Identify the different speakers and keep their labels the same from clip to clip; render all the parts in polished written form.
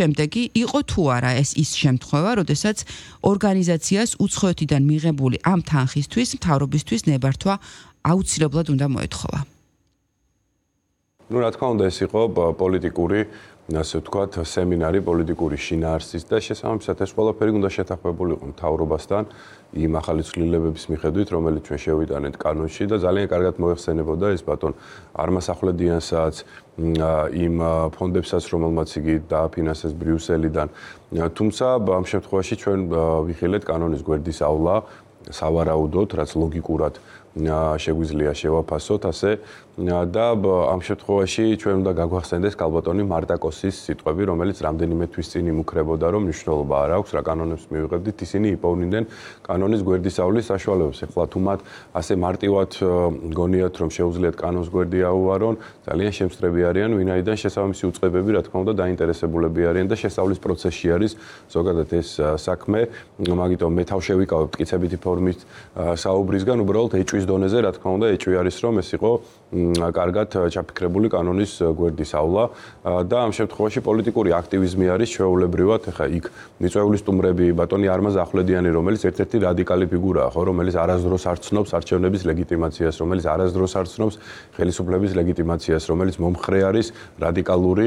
Speaker 1: შემდეგი იყო თუ არა ეს ის შემთხვევა, როდესაც ორგანიზაციას უცხოეთიდან მიღებული ამ თანხისთვის მთავრობისთვის ნებართვა აუცილებლად უნდა მოეთხოვა.
Speaker 2: რა თქმა უნდა, ეს იყო პოლიტიკური, ასე ვთქვათ, სემინარი პოლიტიკური შინაარსის და შესაბამისად ეს ყველაფერი უნდა შეთანხმებულიყო მთავრობასთან იმ ახალი ცვლილებების მიხედვით, რომელიც ჩვენ შევიტანეთ კანონში და ძალიან კარგად მოეხსენებოდა ეს ბატონ არმასახვლედიანსაც იმ ფონდებსაც, რომელმაც იგი დააფინანსეს ბრიუსელიდან. თუმცა ამ შემთხვევაში ჩვენ ვიხილეთ კანონის გვერდის ავლა სავარაუდოდ, რაც ლოგიკურად შეგვიძლია შევაფასოთ ასე და ამ შემთხვევაში ჩვენ უნდა გაგვახსენდეს კალბატონი მარტაკოსის სიტყვები, რომელიც რამდენიმე თვის წინ იმუქრებოდა, რომ მნიშვნელობა არ აქვს რა კანონებს მივიღებდით, ისინი იპოვნდნენ კანონის გვერდის ავლის საშუალებებს. ეხლა თუ მათ ასე მარტივად გონიათ, რომ შეუძლიათ კანონს გვერდი აუვარონ, ძალიან შემსწრები არიან, ვინაიდან შესაბამისი უწყებები, რა თქმა უნდა, დაინტერესებულები არიან და შესწავლის პროცესში არის ზოგადად ეს საქმე, მაგიტომ მე თავ შევიკავებ მტკიცებითი ფორმით საუბრისგან, უბრალოდ ეჭვის დონეზე, რა თქმა უნდა, ეჭვი არის, რომ ეს იყო კარგად ჩაფიქრებული კანონის გვერდის ავლა და ამ შემთხვევაში პოლიტიკური აქტივიზმი არის ჩვეულებრივად, ეხა იქ მიწვეული სტუმრები ბატონი არმაზ ახვლედიანი, რომელიც ერთ-ერთი რადიკალი ფიგურაა, ხო, რომელიც არასდროს არ ცნობს არჩევნების ლეგიტიმაციას, რომელიც არასდროს არ ცნობს ხელისუფლების ლეგიტიმაციას, რომელიც მომხრე არის რადიკალური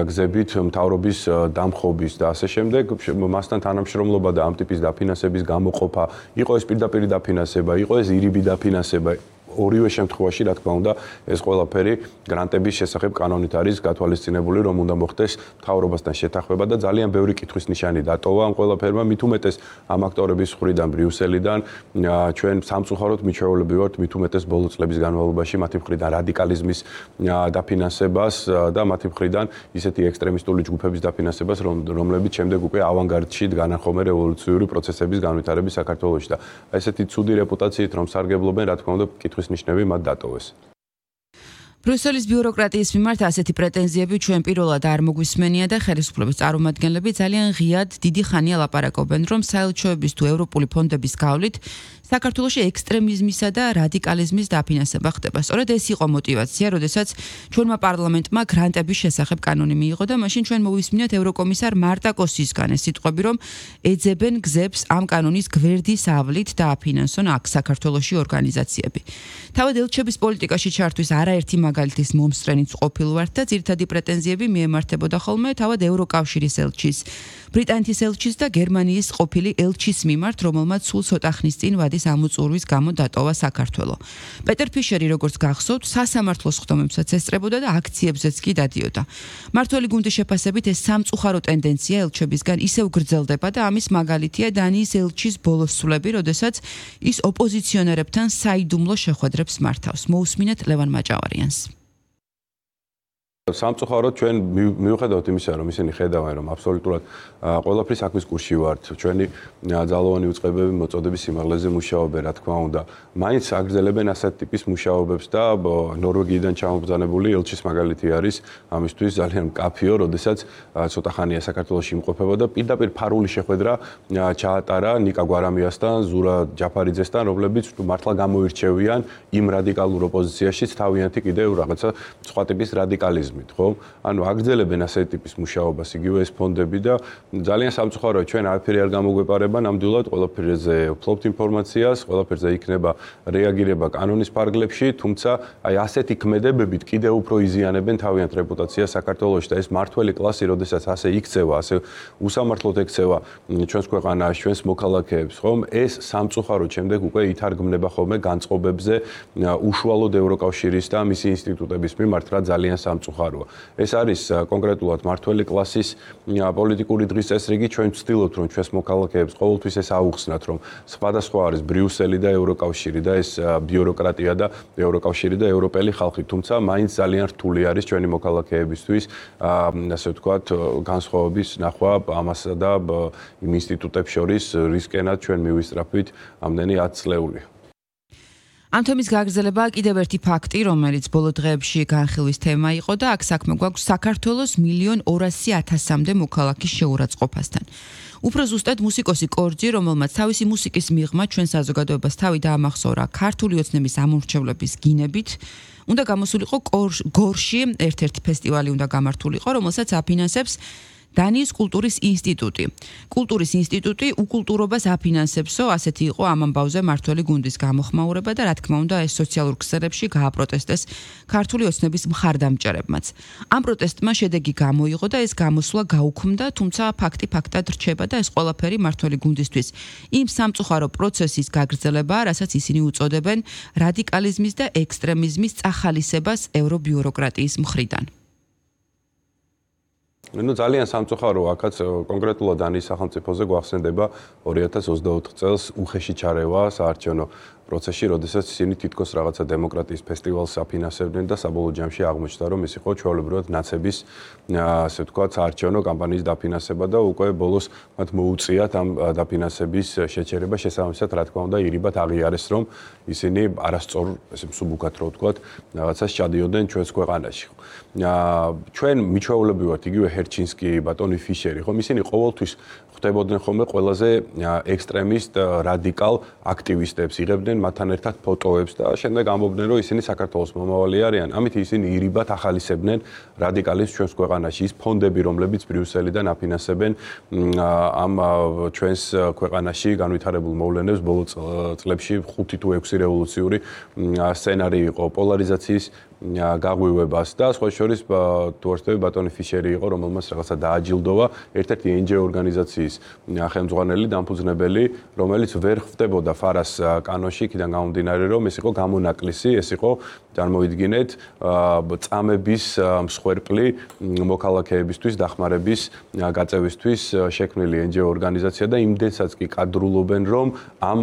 Speaker 2: გზებით მთავრობის დამხობის და ასე შემდეგ, მასთან თანამშრომლობა და ამ ტიპის დაფინანსების გამოყოფა, იყო ეს პირდაპირ დაფინანსება, იყო ეს ირიბი დაფინანსება. ორივე შემთხვევაში, რა თქმა უნდა, ეს ყველაფერი გრანტების შესახებ კანონით არის გათვალისწინებული, რომ უნდა მოხდეს მთავრობასთან შეთანხმება და ძალიან ბევრი კითხვის ნიშანი დატოვა ამ ყველაფერმა, მით უმეტეს ამ აქტორების მხრიდან ბრიუსელიდან, ჩვენ სამწუხაროდ მიჩვეულები ვართ მით უმეტეს ბოლო წლების განმავლობაში მათი მხრიდან რადიკალიზმის დაფინანსებას და მათი მხრიდან ისეთი ექსტრემისტული ჯგუფების დაფინანსებას, რომლებიც შემდეგ უკვე ავანგარდში განახომე რევოლუციური პროცესების განვითარების საქართველოში და ესეთი ცუდი რეპუტაციით რომ სარგებლობენ, რა თქმა უნდა, კითხვის ნიშნები მათ დატოვეს.
Speaker 1: ბრიუსელის ბიუროკრატიის მიმართ ასეთი პრეტენზიები ჩვენ პირველად არ მოგვისმენია და ხელისუფლების წარმომადგენლები ძალიან ღიად დიდი ხანია ლაპარაკობენ, რომ საელჩოების თუ ევროპული ფონდების გავლით საქართველოში ექსტრემიზმისა და რადიკალიზმის დაფინანსება ხდება. სწორედ ეს იყო мотиваცია, როდესაც ჩვენმა პარლამენტმა გრანტების შესახებ კანონი მიიღო და მაშინ ჩვენ მოვისმინეთ ევროკომისარ მარტაკოსისგან ეს სიტყვები, რომ ეძებენ გზებს ამ კანონის გვერდის ავლით დააფინანსონ აქ საქართველოში ორგანიზაციები. თავად ელჩების პოლიტიკაში ჩართვის არაერთი მაგალითის მომსწრენიც ყოფილ ვართ და ძირითადი პრეტენზიები მიემართებოდა ხოლმე თავად ევროკავშირის ელჩის, ბრიტანეთის ელჩის და გერმანიის ყოფილი ელჩის მიმართ, რომელმაც სულ ცოტა ხნის წინ ვადის ამოწურვის გამო დატოვა საქართველო. პეტერ ფიშერი, როგორც გახსოვთ, სასამართლოს ხდომებსაც ესწრებოდა და აქციებზეც კი დადიოდა. მართველი გუნდის შეფასებით ეს სამწუხარო ტენდენცია ელჩებისგან ისევ გრძელდება და ამის მაგალითია დანიის ელჩის ბოლოს სულები, როდესაც ის ოპოზიციონერებთან საიდუმლო შეხვედრებს მართავს. მოусმინეთ ლევან მაჭავარიანს.
Speaker 2: სამწუხაროდ ჩვენ მივხვდებით იმისა, რომ ისინი ხედავენ, რომ აბსოლუტურად ყველაფრის საქმის კურსში ვართ. ჩვენი ძალოვანი უწყებები მოწოდების სიმაღლეზე მუშაობენ, რა თქმა უნდა. მაინც აგრძელებენ ასეთ ტიპის მუშაობებს და ნორვეგიიდან ჩამობრძანებული ელჩის მაგალითი არის ამისთვის ძალიან მკაფიო, როდესაც ცოტა ხანია საქართველოში იმყოფებოდა პირდაპირ ფარული შეხვედრა ჩაატარა ნიკა გვარამიასთან, ზურა ჯაფარიძესთან, რომლებიც მართლა გამოირჩევიან იმ რადიკალურ ოპოზიციაში თავიანთი კიდევ რაღაცა სხვა ტიპის რადიკალიზმი. ხო? ანუ აგრძელებენ ასეთი ტიპის მუშაობას, იგივე ეს ფონდები და ძალიან სამწუხაროა ჩვენ არაფერი არ გამოგვეპარება, ნამდვილად ყველაფერზე ვფლობთ ინფორმაციას, ყველაფერზე იქნება რეაგირება კანონის ფარგლებში, თუმცა აი ასეთი ქმედებებით კიდევ უფრო იზიანებენ თავიანთ რეპუტაციას საქართველოში და ეს მართველი კლასი, როდესაც ასე იქცევა, ასე უსამართლოდ ექცევა ჩვენს ქვეყანას, ჩვენს მოქალაქეებს, ხომ? ეს სამწუხაროდ შემდეგ უკვე ითარგმნება ხოლმე განწყობებზე უშუალოდ ევროკავშირის და მისი ინსტიტუტების მიმართ, რა ძალიან სამწუხაროა. ეს არის კონკრეტულად მართველი კლასის პოლიტიკური დღის წესრიგი, ჩვენ ვცდილობთ, რომ ჩვენს მოქალაქეებს ყოველთვის ეს აუხსნათ, რომ სხვადასხვა არის ბრიუსელი და ევროკავშირი და ეს ბიუროკრატია და ევროკავშირი და ევროპელი ხალხი, თუმცა მაინც ძალიან რთული არის ჩვენი მოქალაქეებისთვის, ასე ვთქვათ, განსხვავების ნახვა ამასა და იმ ინსტიტუტებს შორის რისკენად ჩვენ მივისწრაფვით ამდენი 10 წლეული.
Speaker 1: ამ თემის გაგრძელებაა კიდევ ერთი ფაქტი, რომელიც ბოლო დღეებში განხილვის თემა იყო და აქ საქმე გვაქვს საქართველოს 1,200,000-მდე მოქალაქის შეურაცხყოფასთან. უფრო ზუსტად მუსიკოსი კორძი, რომელმაც თავისი მუსიკის მიღმა ჩვენ საზოგადოებას თავი დაამახსოვრა ქართული ოცნების ამორჩევლების გინებით, უნდა გამოსულიყო გორში ერთ-ერთი ფესტივალი უნდა გამართულიყო, რომელსაც აფინანსებს დანიის კულტურის ინსტიტუტი. კულტურის ინსტიტუტი უკულტურობას აფინანსებსო, ასეთი იყო ამ ამბავზე მართველი გუნდის გამოხმაურება და რა თქმა უნდა ეს სოციალურ ქსელებში გააპროტესტეს ქართული ოცნების მხარდამჭერებმაც. ამ პროტესტმა შედეგი გამოიღო და ეს გამოსვლა გაუქმდა, თუმცა ფაქტი ფაქტად რჩება და ეს ყველაფერი მართველი გუნდისთვის იმ სამწუხარო პროცესის გაგრძელებაა, რასაც ისინი უწოდებენ რადიკალიზმის და ექსტრემიზმის წახალისებას ევრობიუროკრატიის მხრიდან.
Speaker 2: ძალიან სამწუხაროა, აქაც კონკრეტულად დანიის სახელმწიფოზე გვახსენდება 2024 წელს უხეში ჩარევა საარჩევნო პროცესში, როდესაც ისინი თითქოს რაღაცა დემოკრატიის ფესტივალს აფინანსებდნენ და საბოლოო ჯამში აღმოჩნდა, რომ ის იყო ჩვეულებრივად ნაცების, ასე ვთქვათ, საარჩევნო კამპანიის დაფინანსება და უკვე ბოლოს მათ მოუწიათ ამ დაფინანსების შეჩერება, შესაბამისად, რა თქმა უნდა, ირიბად აღიარეს, რომ ისინი არასწორ, ესე მსუბუქად რო ვთქვათ, რაღაცას ჩადიოდნენ ჩვენს ქვეყანაში. ჩვენ მიჩვეულები ვართ იგივე ჰერჩინსკი, ბატონი ფიშერი, ხომ ისინი ყოველთვის ხვდებოდნენ ხოლმე ყველაზე ექსტრემისტ, რადიკალ აქტივისტებს, იღებდნენ მათთან ერთად ფოტოებს და შემდეგ ამბობდნენ, რომ ისინი საქართველოს მომავალი არიან. ამით ისინი ირიბად ახალისებდნენ რადიკალიზმს ჩვენს ქვეყანაში. ის ფონდები, რომლებიც ბრიუსელიდან აფინანსებენ ამ ჩვენს ქვეყანაში განვითარებულ მოვლენებს ბოლო წლებში 5 თუ 6 რევოლუციური სცენარი იყო პოლარიზაციის გაღვივებას და სხვა შორის თუ არ ვთქვი ბატონი ფიშერი იყო, რომელმაც რაღაცა დააჯილდოვა ერთ-ერთი NGO ორგანიზაციის ხელმძღვანელი დამფუძნებელი, რომელიც ვერ ხვდებოდა ფარას კანონში, იქიდან გამომდინარე, რომ ეს იყო გამონაკლისი, ეს იყო წარმოიდგინეთ წამების მსხვერპლი მოქალაქეებისთვის დახმარების გაწევისთვის შექმნილი NGO ორგანიზაცია და იმდენსაც კი კადრულობენ, რომ ამ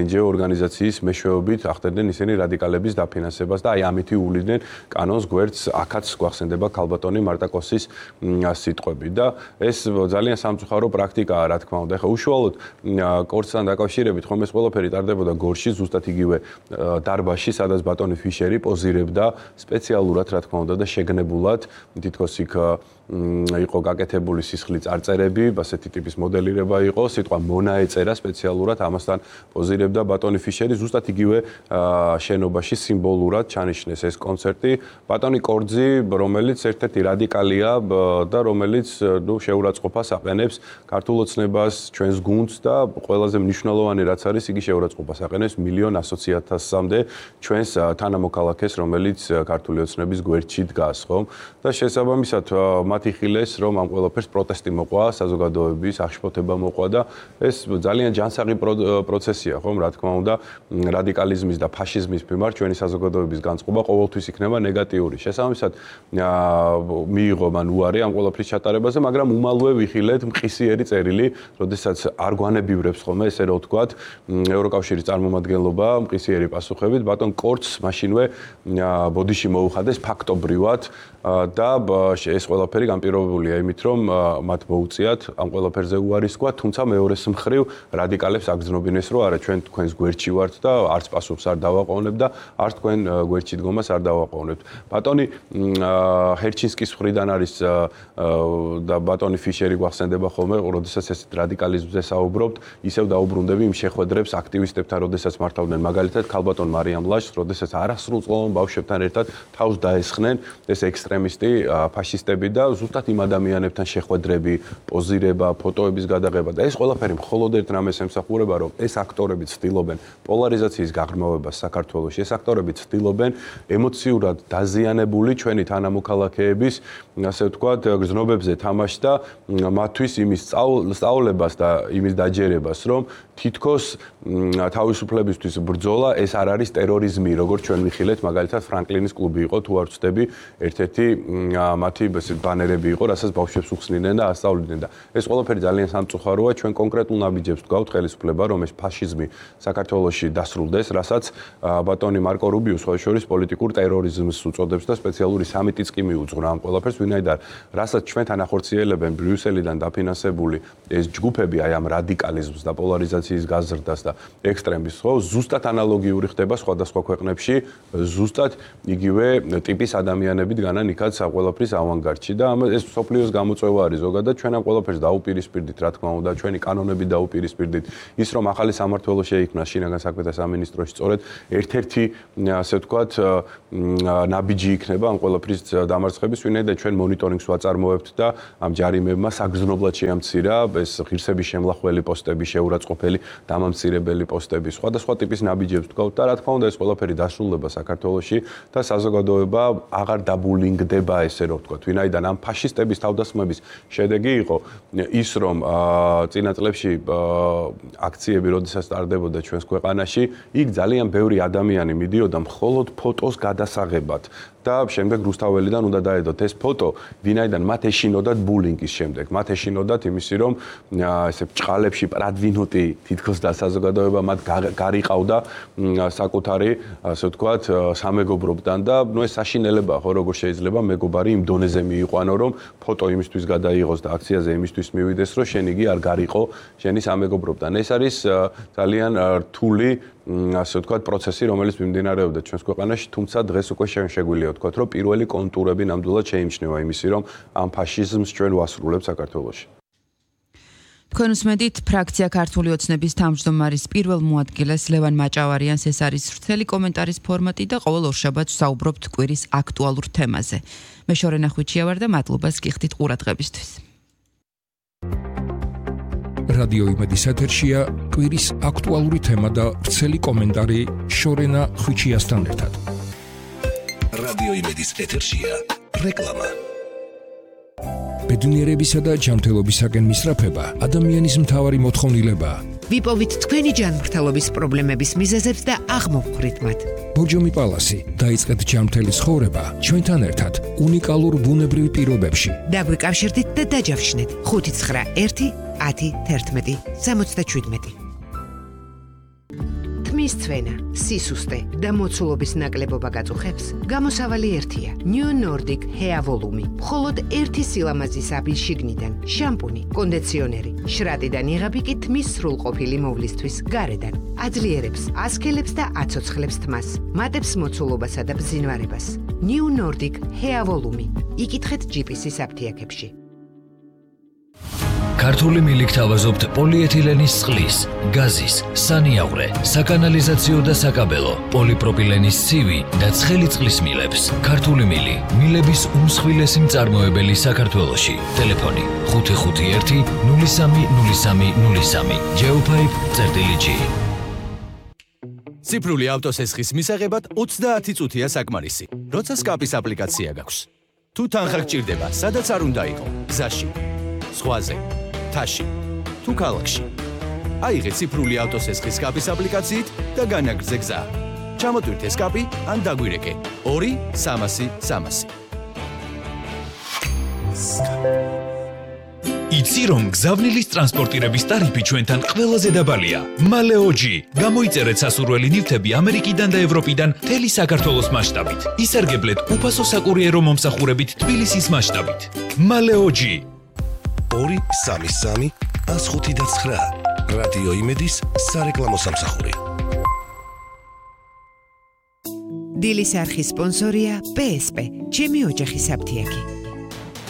Speaker 2: NGO ორგანიზაციის მეშვეობით ახდენდნენ ისინი რადიკალების დაფინანსებას და აი ამითი უვლიდნენ კანონს გვერდს, აქაც გვახსენდება ქალბატონი მარტაკოსის სიტყვები და ეს ძალიან სამწუხარო პრაქტიკაა, რა თქმა უნდა. ეხლა უშუალოდ კორცთან დაკავშირებით ხომ ეს ყველაფერი ტარდებოდა გორში, ზუსტად იგივე დარბაზში, სადაც ბატონი ფიშერი პოზირებდა სპეციალურად, რა თქმა უნდა და შეგნებულად, თითქოს იქ იყო გაკეთებული სისხლი წარწერები, ასეთი ტიპის მოდელირება იყო, სიტყვა მონა ეწერა სპეციალურად, ამასთან პოზირებდა ბატონი ფიშერი, ზუსტად იგივე შენობაში სიმბოლურად ჩანიშნეს ეს კონცერტი. ბატონი კორძი, რომელიც ერთ-ერთი რადიკალია და რომელიც შეურაცხყოფას აყენებს ქართულ ოცნებას, ჩვენს გუნდს და ყველაზე მნიშვნელოვანი რაც არის, იგი შეურაცხყოფას აყენებს 1,100,000-მდე ჩვენს თანამოქალაქეს, რომელიც ქართული ოცნების გვერდში დგას, ხომ? და შესაბამისად იხილეს, რომ ამ ყველაფერს პროტესტი მოყვა, საზოგადოების აღშფოთება მოყვა და ეს ძალიან ჯანსაღი პროცესია, ხომ, რა თქმა უნდა, რადიკალიზმის და ფაშიზმის მიმართ ჩვენი საზოგადოების განწყობა ყოველთვის იქნება ნეგატიური. შესაბამისად, მიიღო მან უარი ამ ყველაფრის ჩატარებაზე, მაგრამ უმალვე ვიხილეთ მყისიერი წერილი, როდესაც არ გვანებივრებს ხოლმე, ესე რომ ვთქვათ, ევროკავშირის წარმომადგენლობა მყისიერი პასუხებით, ბატონ კორცს მაშინვე ბოდიში მოუხადეს ფაქტობრივად და ეს ყველაფერი განპირობებულია იმით, რომ მათ მოუწიათ ამ ყველაფერზე უარის თქვა, თუმცა მეორეს მხრივ რადიკალებს აგრძნობინეს, რომ არა ჩვენ თქვენს გვერდში ვართ და არც პასუხს არ დავაყოვნებთ და არც თქვენ გვერდში დგომას არ დავაყოვნებთ. ბატონი ჰერჩინსკის მხრიდან არის და ბატონი ფიშერი გვახსენდება ხოლმე, როდესაც ეს რადიკალიზმზე საუბრობთ, ისევ დაუბრუნდები იმ შეხვედრებს აქტივისტებთან, როდესაც მართავდნენ მაგალითად ქალბატონ მარიამ ლაშს, როდესაც არასრულწლოვან ბავშვებთან ერთად თავს დაესხნენ ეს ექსტრემისტი ფაშისტები და ზუსტად იმ ადამიანებთან შეხვედრები, პოზირება, ფოტოების გადაღება და ეს ყველაფერი მხოლოდ ერთ რამეს ემსახურება, რომ ეს აქტორები ცდილობენ პოლარიზაციის გაღრმავებას საქართველოში. ეს აქტორები ცდილობენ ემოციურად დაზიანებული ჩვენი თანამოქალაქეების, ასე ვთქვათ, გრძნობებზე თამაში და მათთვის იმის სწავლებას და იმის დაჯერებას, რომ თითქოს თავისუფლებისთვის ბრძოლა ეს არ არის ტერორიზმი, როგორც ჩვენ ვიხილეთ, მაგალითად ფრანკლინის კლუბი იყო, თუ არ ვცდები, ერთ-ერთი მათი ბანერები იყო, რასაც ბავშვებს უხსნიდნენ და ასწავლიდნენ და ეს ყველაფერი ძალიან სამწუხაროა, ჩვენ კონკრეტულ ნაბიჯებს გვაქვს ხელისუფლება, რომ ეს ფაშიზმი საქართველოში დასრულდეს, რასაც ბატონი მარკო რუბიო სხვა შორის პოლიტიკურ ტერორიზმს უწოდებს და სპეციალური სამიტიც კი მიუძღვნა ამ ყველაფერს, ვინაიდან რასაც ჩვენთან ახორციელებენ ბრიუსელიდან დაფინანსებული ეს ჯგუფები აი ამ რადიკალიზმს და პოლარიზაციის გაზრდას და ექსტრემიზმს, ხო, ზუსტად ანალოგიური ხდება სხვადასხვა ქვეყნებში, ზუსტად იგივე ტიპის ადამიანები დგანან იქაც ყველაფრის ავანგარდში და ეს სოფლიოს გამოწვევა არის ზოგადად, ჩვენ ამ ყველაფერს დაუპირისპირდით, რა თქმა უნდა, ჩვენი კანონები დაუპირისპირდით. ის რომ ახალი სამმართველო შეიქმნა შინაგან საქმეთა სამინისტროში, სწორედ ერთ-ერთი, ასე ვთქვათ, ნაბიჯი იქნება ამ ყველაფრის დამარცხების, ვინაიდან ჩვენ მონიტორინგს ვაწარმოებთ და ამ ჯარიმებმა საგრძნობლად შეამცირა ეს ღირსების შემლახველი პოსტები, შეურაცხყოფელი დამამცირებელი პოსტები, სხვადასხვა ტიპის ნაბიჯებს ვთქვათ და რა თქმა უნდა ეს ყველაფერი დასრულდება საქართველოში და საზოგადოება აღარ დაბულინგდება, ესე რომ ვთქვათ, ვინაიდან ამ ფაშისტების თავდასხმების შედეგი იყო ის, რომ წინა წლებში აქციები, როდესაც ტარდებოდა ჩვენს ქვეყანაში, იქ ძალიან ბევრი ადამიანი მიდიოდა მხოლოდ ფოტოს გადასაღებად და შემდეგ რუსთაველიდან უნდა დაედოთ ეს ფოტო, ვინაიდან მათ ეშინოდათ ბულინგის შემდეგ, მათ ეშინოდათ იმისი, რომ ესე ბრჭყალებში პრადვინოტი თითქოს და საზოგადოება მათ გარიყავდა საკუთარი, ასე ვთქვათ, სამეგობრობთან და ნუ ეს საშინელებაა, ხო, როგორ შეიძლება მეგობარი იმ დონეზე მიიყვანო, რომ ფოტო იმისთვის გადაიღოს და აქციაზე იმისთვის მივიდეს, რომ შენ იგი არ გარიყო შენი სამეგობრობთან. ეს არის ძალიან რთული, ასე ვთქვათ, პროცესი, რომელიც მიმდინარეობდა ჩვენს ქვეყანაში, თუმცა დღეს უკვე შეგვიძლია ვთქვათ, რომ პირველი კონტურები ნამდვილად შეიმჩნევა იმისი, რომ ამ ფაშიზმს ჩვენ ვასრულებთ საქართველოში.
Speaker 1: თქვენ უსმენთ ფრაქცია ქართული ოცნების თავმჯდომარის პირველ მოადგილეს ლევან მაჭავარიანს, ეს არის ვრცელი კომენტარის ფორმატი და ყოველ ორშაბათს საუბრობთ კვირის აქტუალურ თემაზე. მე შორენა ხვიჩია ვარ და მადლობას გიხდით ყურადღებისთვის.
Speaker 3: რადიო იმედის ეთერშია კვირის აქტუალური თემა და ვრცელი კომენტარი შორენა ხვიჩიასთან ერთად.
Speaker 4: რადიო იმედის ეთერშია რეკლამა.
Speaker 3: ბედნიერებისა და ჯანმრთელობისაკენ მისწრაფება ადამიანის მთავარი მოთხოვნილებაა.
Speaker 5: ვიპოვით თქვენი ჯანმრთელობის პრობლემების მიზეზებს და აღმოვხვრით მათ.
Speaker 3: ბორჯომი პალასი, დაიწყეთ ჯანმრთელი ცხოვრება ჩვენთან ერთად უნიკალურ ბუნებრივ პირობებში.
Speaker 5: დაგვიკავშირდით და დაჯავშნეთ 591 10 11 77. თმის ცვენა, სისუსტე და მოცულობის ნაკლებობა გაწუხებს, გამოსავალი ერთია. New Nordic Hair Volume. მხოლოდ ერთი სილამაზის აბი შიგნიდან, შამპუნი, კონდიციონერი, შრატიდან იღები კი თმის სრულყოფილი მოვლისთვის გარედან. აძლიერებს, ასქელებს და აცოცხლებს თმას, მატებს მოცულობასა და ბზინვარებას. New Nordic Hair Volume. იკითხეთ GPS-ის აფთიაქებში.
Speaker 6: ქართული მილიქ თავაზობთ პოლიეთილენის წყლის, გაზის, სანიავრე, საკანალიზაციო და საკაბელო, პოლიპროპილენის ცივი და ცხელი წყლის მილებს. ქართული მილი, მილების უმსხვილესი მწარმოებელი საქართველოში. ტელეფონი 551 030303. Geopipe.g.
Speaker 7: ციფრული ავტოსესხის მისაღებად 30 წუთია საკმარისი. როცა სკაპის აპლიკაცია გაქვს. თუ თანხა გჭირდება, სადაც არ უნდა იყო, გზაში, ზღვაზე, თაში, თუ ქალაქში. აიღე ციფრული ავტოსესხის სკაპის აპლიკაციით და განაგრძე გზა. ჩამოტვირთე სკაპი ან დაგვირეკე 2-300-300.
Speaker 8: იცი რომ გზავნილის ტრანსპორტირების ტარიფი ჩვენთან ყველაზე დაბალია. მალეოჯი. გამოიწერეთ სასურველი ნივთები ამერიკიდან და ევროპიდან მთელი საქართველოს მასშტაბით. ისარგებლეთ უფასო საკურიერო მომსახურებით თბილისის მასშტაბით. მალეოჯი.
Speaker 4: 233 105 რადიო იმედის სარეკლამო სამსახური.
Speaker 5: დილის არხის სპონსორია PSP. ჩემი ოჯახის აფთიაქი.